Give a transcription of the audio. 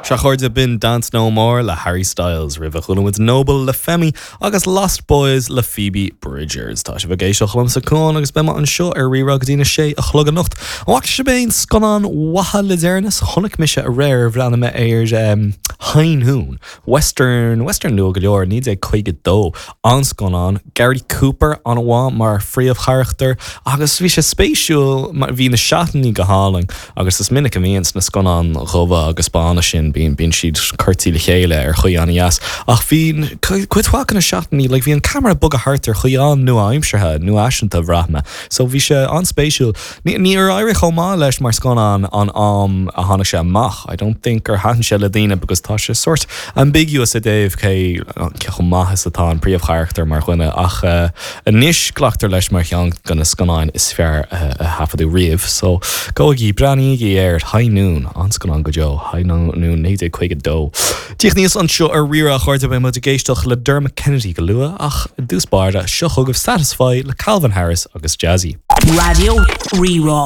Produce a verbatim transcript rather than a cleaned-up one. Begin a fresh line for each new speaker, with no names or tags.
Sea a chairde b'in Dance No More le Harry Styles roimhe chuala muid Noble le Femi agus Lost Boys le Phoebe Bridgers. Tá sibh ag éisteacht liomsa Cuán agus beidh mé anseo ar Rí-Rá go dtí na sé a chlog anocht. An bhfaca sibh aon scannán mhaithe le deireanas chonaic mise aréir bhreathnaigh mé ar um, High Noon, Western Western nua go leor naoi déag caoga dó an-scannán Gary Cooper an-mhaith mar phríomhcharachtar agus bhí sé spéisiúil bhí na seatanna go hálainn agus is minic a bhíonn sna scannáin dhubha agus bána sin bíonn bíonn siad curtha le chéile ar chaoi an-deas ach bhí cuid mhaith de na seatanna le bhí an ceamara ag bogadh thart ar chaoi an-nua-aimseartha nuafhaiseanta bhraith mé so bhí sé an-spéisiúil níor éirigh chomh maith leis mar scannán an am a tháinig sé amach I don't think gur thaitin sé le daoine because tá sé sort ambiguous i dtaobh cé cé chomh maith is atá an príomhcharachtar mar dhuine ach uh, anois glactar leis mar cheann de na scannáin is fearr uh, a taifeadadh riamh so gabhaigí breathnaígí ar High Noon an-scannán go deo High Noon naoi déag caoga dó. Díoch níos anseo ar Rí-Rá a chairde beidh muid ag éisteacht le Dermot Kennedy go luath ach dtús báire seo chugaibh Satisfy le Calvin Harris agus Jazzy.
Raidió Rí-Rá.